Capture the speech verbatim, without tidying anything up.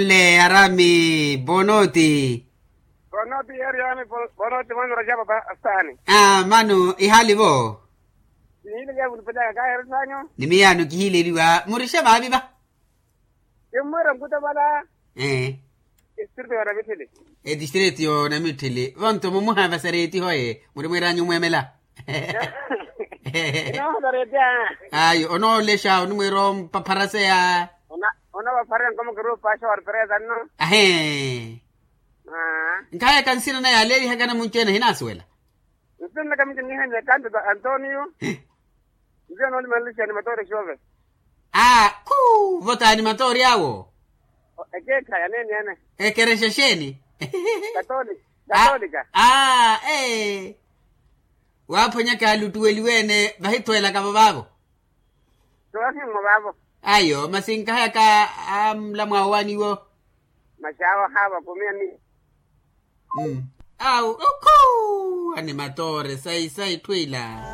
Le arami bonoti. Bonoti yeri yami. Bonoti mwanura japa pa stani. Ah, mano ihali vo. Nihili ya vulipelaka kaheri sanyu. Ni miyano kihileliwa murishe vavi va. Kimwira nkuta vala. Eh. Distrito ya namithili. E distrito ya namithili vonto mumuha vasareti hoye muri mwiranyu mwemela. Inovasaretya. Ayo onoolexa onimwira ompapharaseya. Ona ona vaphara nkomo kiru paxa wa riperesa nno. Ahe. Nkhaye kansina naye aleelihaka namunci ene ahinasuwela. Nsina nakamiti nihenye kanto ta antonio. Nziya noolimanlixani matoori xove. Aa khu votaani matoori awo. Ekeekha yaneeni ene. Ekerexa xeeni? Katolika. Katolika. Aa ee. Waaphonyaka aluttuweliwe ene vahitthwelaka vavaavo. Toohimmo vaavo. Ayo masi nkahayaka amlamwa owaniwo. Masi awo haava kumiya ni. Awu okhu. Animatoore sayi sayi thwiila.